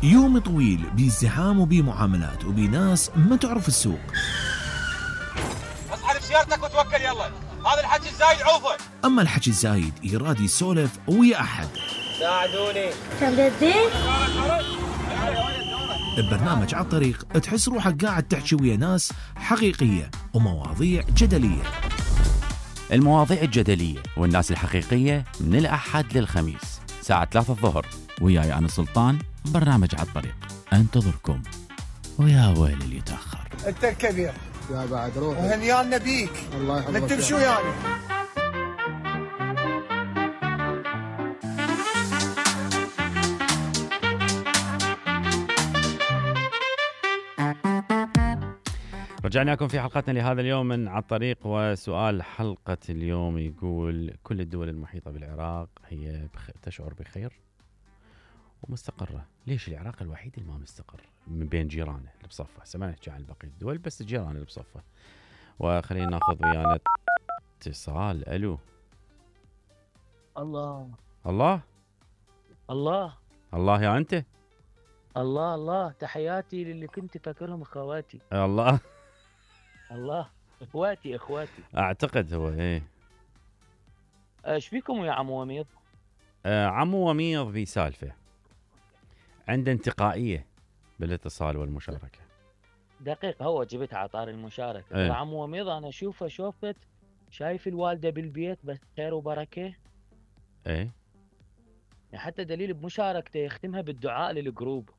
يوم طويل بازدحام وبمعاملات وبناس ما تعرف السوق. اصحى بسيارتك وتوكل يلا، هذا الحكي الزايد عوفه. اما الحكي الزايد يراد يسولف ويا احد. ساعدوني. تبدين؟ ببرنامج على الطريق تحس روحك قاعد تحكي ويا ناس حقيقية ومواضيع جدلية. المواضيع الجدلية والناس الحقيقية من الأحد للخميس ساعة 3 الظهر، وياي أنا سلطان. برنامج على الطريق انتظركم، ويا ويل اللي يتأخر. انت الكبير يا بعد روح وهنيانا بيك. الله يحفظك. نتمشوا يعني. رجعنا لكم في حلقتنا لهذا اليوم من على الطريق، وسؤال حلقة اليوم يقول: كل الدول المحيطة بالعراق هي تشعر بخير ومستقرة، ليش العراق الوحيد اللي ما مستقر من بين جيرانه اللي بصفه؟ هسه ما نحكي عن بقية الدول، بس الجيران اللي بصفه. وخلينا ناخذ ويانا اتصال. الو. الله الله الله الله يا انت. الله الله، تحياتي للي كنت فاكرهم اخواتي. الله الله، اخواتي اعتقد هو ايه. ايش فيكم يا عمو وميض؟ عمو وميض بسالفه، عنده انتقائيه بالاتصال والمشاركه. دقيق، هو جبت على طار المشاركه. ايه. عمو وميض انا اشوفه شايف الوالده بالبيت بس خير وبركه. ايه، حتى دليل بمشاركته يختمها بالدعاء للجروب،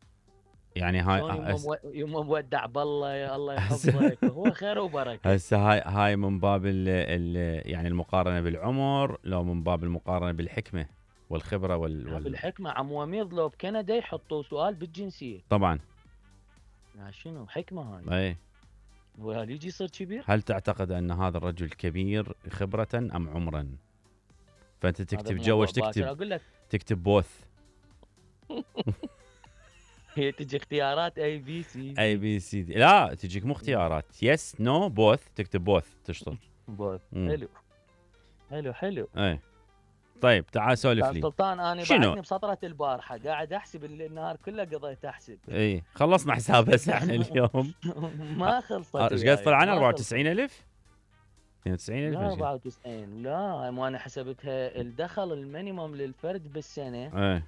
يعني هاي يوم مودع بالله يا الله يحفظك. هو خير وبركه. هسه هاي من باب يعني المقارنه بالعمر، لو من باب المقارنه بالحكمه والخبره بالحكمه. عمو وميض لو بكندا يحطوا سؤال بالجنسيه طبعا. شنو حكمه هاي؟ اي. وهل يجي يصير كبير؟ هل تعتقد ان هذا الرجل كبير خبره ام عمرا؟ فانت تكتب جوش، تكتب بوث. هي تجي اختيارات اي بي سي دي. لا تجيك مو اختيارات، يس نو بوث، تكتب بوث تشطر. بوث. حلو. اي طيب تعال سولف لي. سلطان انا بعدني بسطرة البارحه قاعد احسب النهار كله قضيت احسب. اي خلصنا حساب هسه احنا اليوم. ما خلصت. ايش قد طلعنا؟ 94,000 92,000 لا 94. لا ما انا حسبتها الدخل المينيموم للفرد بالسنه. اي.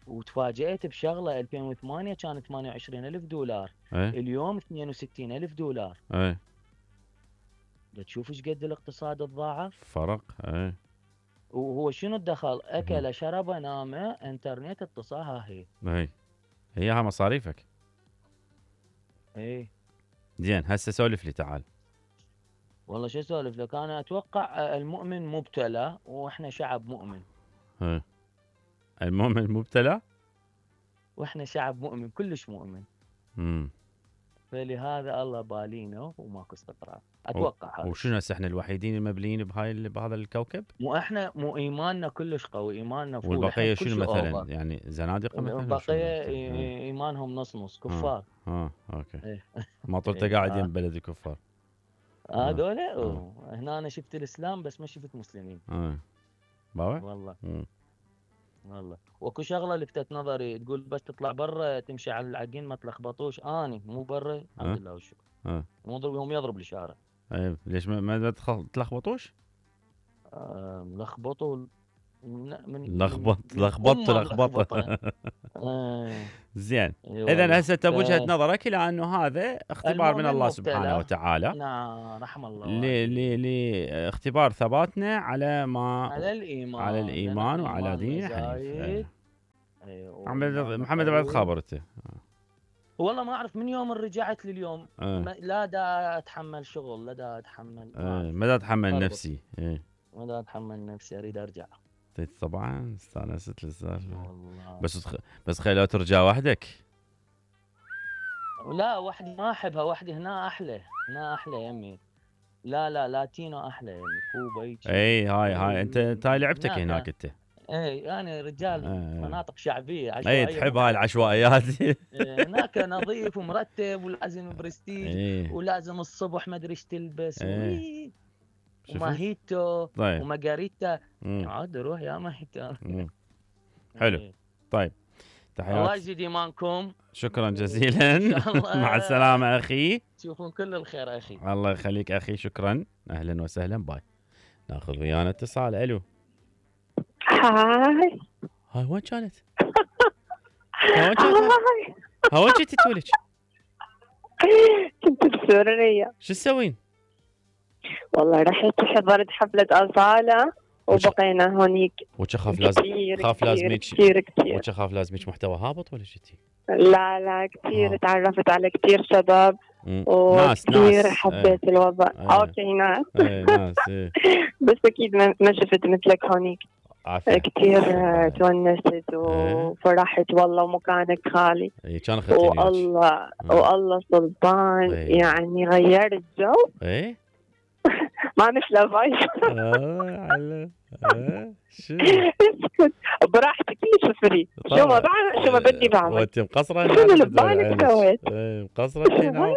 وتفاجئت بشغله، 2008 كانت 28,000 دولار. اي. اليوم 62,000 دولار. اي. تشوف ايش قد الاقتصاد تضاعف فرق. اي. وهو شنو الدخل؟ اكل شرب نام انترنت اتصال. ها هي ها مصاريفك. اي زين هسه سولف لي تعال. والله شو اسولف لك؟ انا اتوقع المؤمن مبتلى واحنا شعب مؤمن. المؤمن مبتلى واحنا شعب مؤمن، كلش مؤمن. فلهذا الله بالينا وماكو استقرار اتوقع. هذا وشنو هسه احنا الوحيدين المبليين بهذا الكوكب؟ مو احنا، مو ايماننا كلش قوي، ايماننا فول. والبقيه شنو مثلا؟ يعني زنادقه مثلا؟ البقيه ايمانهم نص كفار. اوكي. ما طلت قاعد يم بلد الكفار هذول. هنا انا شفت الاسلام بس ما شفت مسلمين. والله واكو شغله لفتت نظري، تقول بس تطلع برا تمشي على العجين ما تلخبطوش. اني مو برا الحمد لله والشكر. هم يضرب الاشاره. ليش ما تلخبطوش؟ لخبطوا لخبطه. زين اذا هسه انت بوجهه نظرك الى انه هذا اختبار من الله سبحانه وتعالى. نعم رحم الله. لاختبار ثباتنا على ما على الايمان وعلى دين حنيف. محمد بعد خابرته. والله ما اعرف من يوم رجعت لليوم. لا دا اتحمل شغل، لا دا اتحمل. ما دا اتحمل نفسي. ما دا اتحمل نفسي، اريد ارجع. طبعا استانست السالفه. بس خلي لو ترجع وحدك. لا وحدي ما احبها، وحدي هنا احلى. هنا احلى يمي. لا لاتينو احلى يمي. كوبا اي هاي انت لعبتك هناك انت. اي انا رجال مناطق شعبيه عشوائيه. اي تحب هاي العشوائيات. هناك نظيف ومرتب ولازم برستيج. ولازم الصبح ما ادري ايش تلبس. وماهيتو. طيب. ومارغريتا. عاد روح يا ماهيتو. حلو. طيب تحياتي. الله يزيد ايمانكم. شكرا جزيلا. مع السلامه اخي. تشوفون كل الخير اخي. الله يخليك اخي، شكرا. اهلا وسهلا. باي. ناخذ ويانا اتصال. الو. هاي وين كانت؟ وين كنتي تولج؟ كنت بسوريا. شو تسوين؟ والله رحت حضرت حفلة أصالة وبقينا هونيك. وخاف لازم كثير خاف لازمك محتوى هابط ولا شتي؟ لا كثير. تعرفت على كثير شباب وكثير حبيت الوضع. اوكي ناس. ناس. بس اكيد ما شفت مثلك هونيك. كثير تونست وفرحت والله ومكانك خالي. كان والله سلطان يعني غير الجو. ما مثله فايز. شو براحتك ليش فري. شو ما بدي بعمل. وانت مقصره؟ شو اللي ببالك سويت؟ مقصره هنا.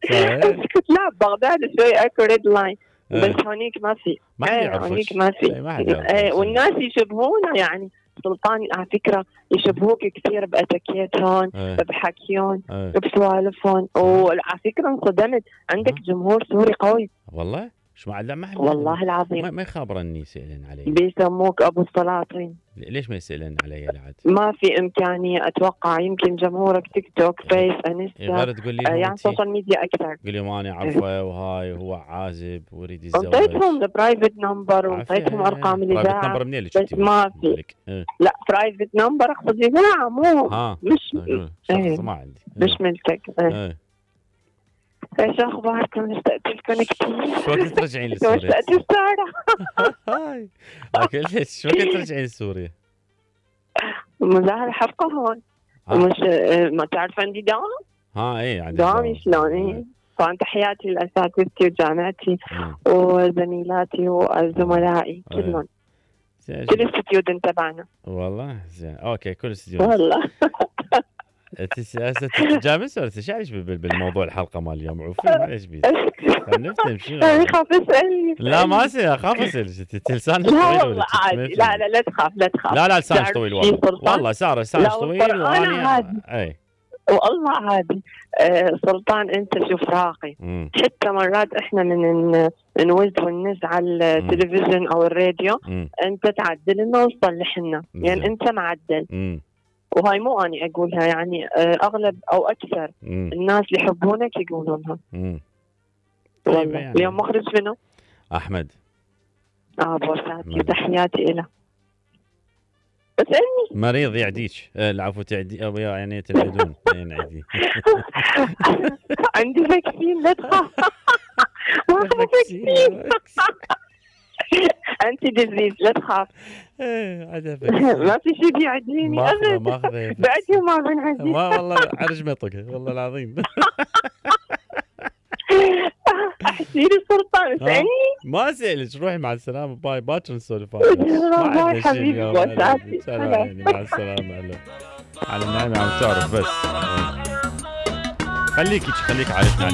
اسكت. لا بغداد شوي اكو ريد لاين بس هونيك ما في. هونيك ما في. والناس يشبهونا يعني سلطان على فكره يشبهوك كثير باتكيتهم بحكيهم بسوالفهم. وعلى فكره انصدمت عندك جمهور سوري قوي والله. شو ما والله العظيم ما يخابرني يسألن علي. بيسموك ابو السلاطين. ليش ما يسألن علي لعد؟ ما في امكانيه اتوقع. يمكن جمهورك تيك توك فيس انستا غير تقول لي يعني سوشيال ميديا اكثر. قول لي ماني عارفه وهاي هو عازب ويريد يتزوج. انطيتهم البرايفت نمبر وانطيتهم ارقام الاذاعه. برايفت نمبر منين اللي بس ما في. لا برايفت نمبر اقصد اذاعه مو مش ما عندي. مش ملكك. ايش اخباركم؟ اشتقت لكم كثير. شو وقت ترجعين لسوريا؟ اشتقت السارة. هاي شو وقت ترجعين لسوريا؟ مظاهر حفقة هون. مش ما تعرف عندي دوام؟ ايه عندي دوامي شلون. طبعا تحياتي لاساتذتي وجامعتي وزميلاتي وزملائي كلهم. كل الستيودنت تبعنا. والله زين. اوكي كل الستيودنت. والله. انت سياسه تتجامس ولا تشعرش بالموضوع الحلقه مال اليوم؟ عوفي معليش بيك. نفتهم شنو. اخاف اسالني. لا ما اخاف اسالك. لسانك طويل ولا عادي. لا تخاف. لا لسانك طويل والله ساره لسانك طويل وانا اي والله عادي. سلطان انت شوف راقي. حتى مرات احنا من نوز وننز على التلفزيون او الراديو انت تعدل لنا وتصلح لنا يعني انت معدل. وهاي مو أني أقولها يعني أغلب أو أكثر الناس اللي يحبونك يقولونها. والله يعني. اليوم مخرج منه أحمد. بوساتي تحياتي إله. اسألني. مريض يعديك. العفو تعدي أو يعني تلعدون. ينعدي. عندي فاكسين لا تخاف. ما فاكسين. أنت ديزيز لا تخاف. ما في شيء بيعديني أبدا. بعدي ما بنعدي. ما والله عرج مطقه والله العظيم. احكيلي سلطان اسألني. ما اسألك روحي مع السلامة. باي باكر نسولف. باي حبيبي وسعتي. مع السلامة. على النعمة عم تعرف بس. خليك عايشنا على